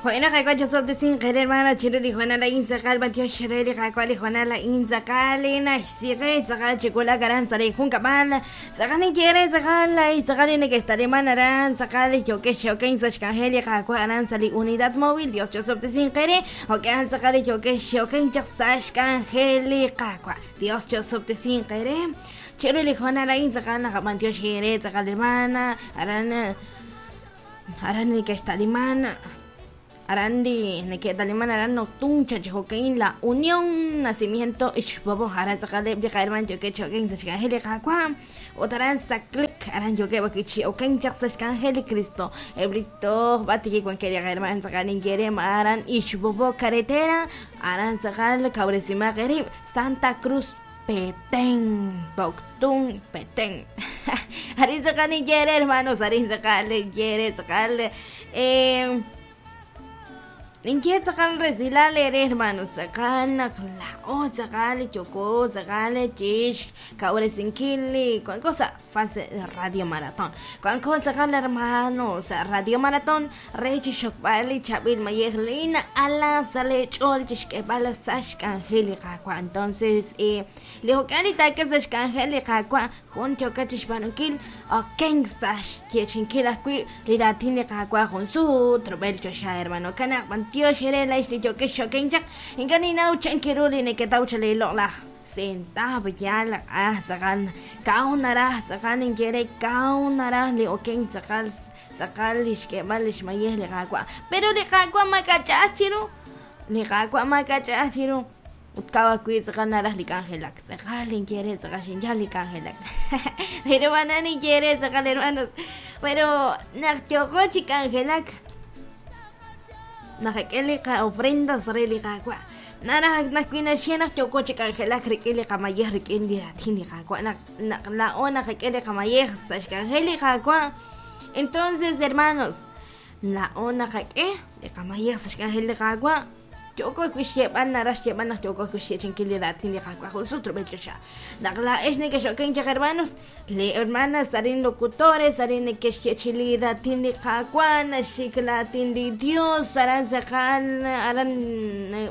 Jo'in naq Qaawa' chosob'tesinq eere hermana chiru li hoonal a'in tz'aqal b'antiox re li Qaawa' li hoonal a'in tz'aqal li naxsiqe tz'aqal chi wulak aran sa' li junkab'al tz'aqal ninye eere tz'aqal ay tz'aqal li neke'xtaliman aran tz'aqal li yookex chi okenk sa' xk'anjel li Qaawa' aran sa' li Unidad Móvil Dios chosob'tesinq eere jo'kan tz'aqal li yookex chi okenk chaq sa' xk'anjel li Qaawa' Dios chosob'tesinq eere chiru li hoonal a'in tz'aqal naqab'antioxi eere tz'aqal hermana aran Aran neke'xta'liman aran li neke'taliman aran Noctun, Chachijoquein, La Unión, Nacimiento, Ixbobo, aran tz'aqaleb' li qaherman yookeb' chi okenk sa' xk'anjel li Qaawa' ut aran Saclec, aran yookeb' ajwi' chi okenk chaq sa' xk'anjel li Cristo. Eb' li toj b'ar tik wankeb' li qaherman tz'aqal ninye re ma aran Ixbobo Carretera, aran tz'aqal kawresimaq eerib' Santa Cruz Petén, Poptún, Petén. Arin tz'aqal ninye eere, hermanos, arin tz'aqal ninye eere tz'aqal eh, ninye tz'aqal resilal eere, hermanos, tz'aqal naq laa'o tz'aqal yooko tz'aqal chix kawresinkil li wanko sa' fase Radio Maratón. Wanko tz'aqal hermano sa' Radio Maratón re chixxokb'al li chaab'il mayej li na'ala sa' lee ch'ool chixk'eeb'al sa' xk'anjel li Qaawa'. Entonces, eh, li jo'kan li taak'e sa' xk'anjel li Qaawa', jun yookat chixb'aanunkil, okenk sa' xyeechi'inkil ajwi' li raatin li Qaawa' jun sut rub'el choxa, hermano. Kanaq b'antiox eere laa'ex li yookex chi okenk chaq. Ink'a' ninnaw chan ru li neketaw chaq lee loq'laj sentav yaal ah tz'aqal kaw naraj tz'aqal ninye re kaw naraj li okenk tz'aqal tz'aqal li xk'eeb'al li xmayej li Qaawa'. Pero li Qaawa' maak'a' ch'a'aj chiru. Li Qaawa' maak'a' ch'a'aj chiru. Ut kaw ajwi' tz'aqal naraj li k'anjelak. Tz'aqal ninye re tz'aqal xinyal li k'anjelak. Pero b'ana ninye re tz'aqal hermanos. Pero naq yooqo chi k'anjelak, naqak'e li qa'ofrendas re li Qaawa'. Naraj naq wi naxye naq yooko chi k'anjelak rik'in li qamayej rik'in li raatin li Qaawa' naq naq laa'o naqak'e li qamayej sa' xk'anjel li Qaawa'. Entonces, hermanos, laa'o naqak'e li qamayej sa' xk'anjel li Qaawa'. Yooko ajwi' xyeeb'al naraj xyeeb'al naq yooko ajwi' xyeechi'inkil li raatin li Qaawa' jun sut rub'el choxa. Naq laa'ex nekex'okenk chaq, hermanos, li hermanas arin locutores arin neke'xyeechi'i li raatin li Qaawa', naxik raatin li Dios, aran tz'aqal aran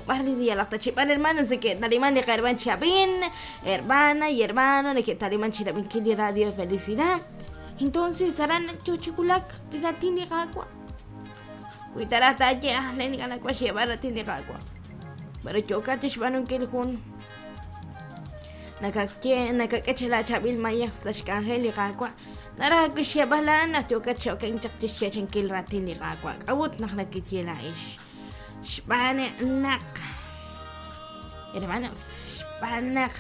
b'ar li yalaq ta chi b'ar hermanos neke'taliman li qaherman chi ab'in, hermana y hermano neke'taliman chi rab'inkil li radio Felicidad. Entonces aran yo chi wulak li raatin li Qaawa'. Wi ta raj taaye ah len ink'a' nawaj xyeeb'al raatin li Qaawa'. Pero yookat chixb'aanunkil jun nakakye nakak'e chi laachaab'il mayej sa' xk'anjel li Qaawa'. Naraj ajwi' xyeeb'al a'an naq yookat chi okenk chaq chixyeechi'inkil raatin li Qaawa'. K'a'ut naq nakeye laa'ex? Xb'aan naq hermanos, xb'aan naq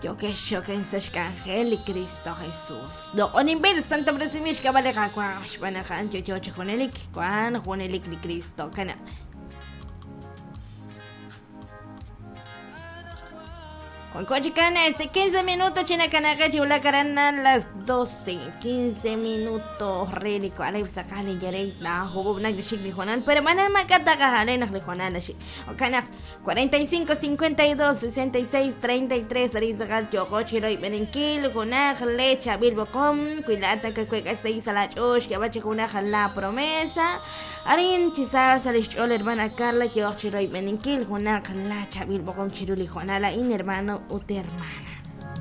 Yookex chi okenk sa' xk'anjel li Kristo Jesus. Loq'oninb'il santob'resinb'il xk'ab'a' li Qaawa' xb'aan naq a'an yo'yo chi junelik, wank junelik li Kristo. Kanab'. Wanko chikan este 15 minutos chi nakanaqe chi wulak aran a las 12 15 minutos re li wa'leb' tz'aqal li yerey la jub'ub' nak li xik li hoonal pero b'ana maak'a' taqajale naq li hoonal naxik jo'kan naq 45 52 66 33 arin tz'aqal yooqo chi royb'eninkil junaq le chaab'il b'oqom wi laa'at nakawek'a xsahil sa' laach'ool xk'eeb'al chi junaq la promesa arin chi sa sa' li xch'ool hermana Carla yooq chi royb'eninkil junaq la chaab'il b'oqom chiru li hoonal a'in hermano ut hermana.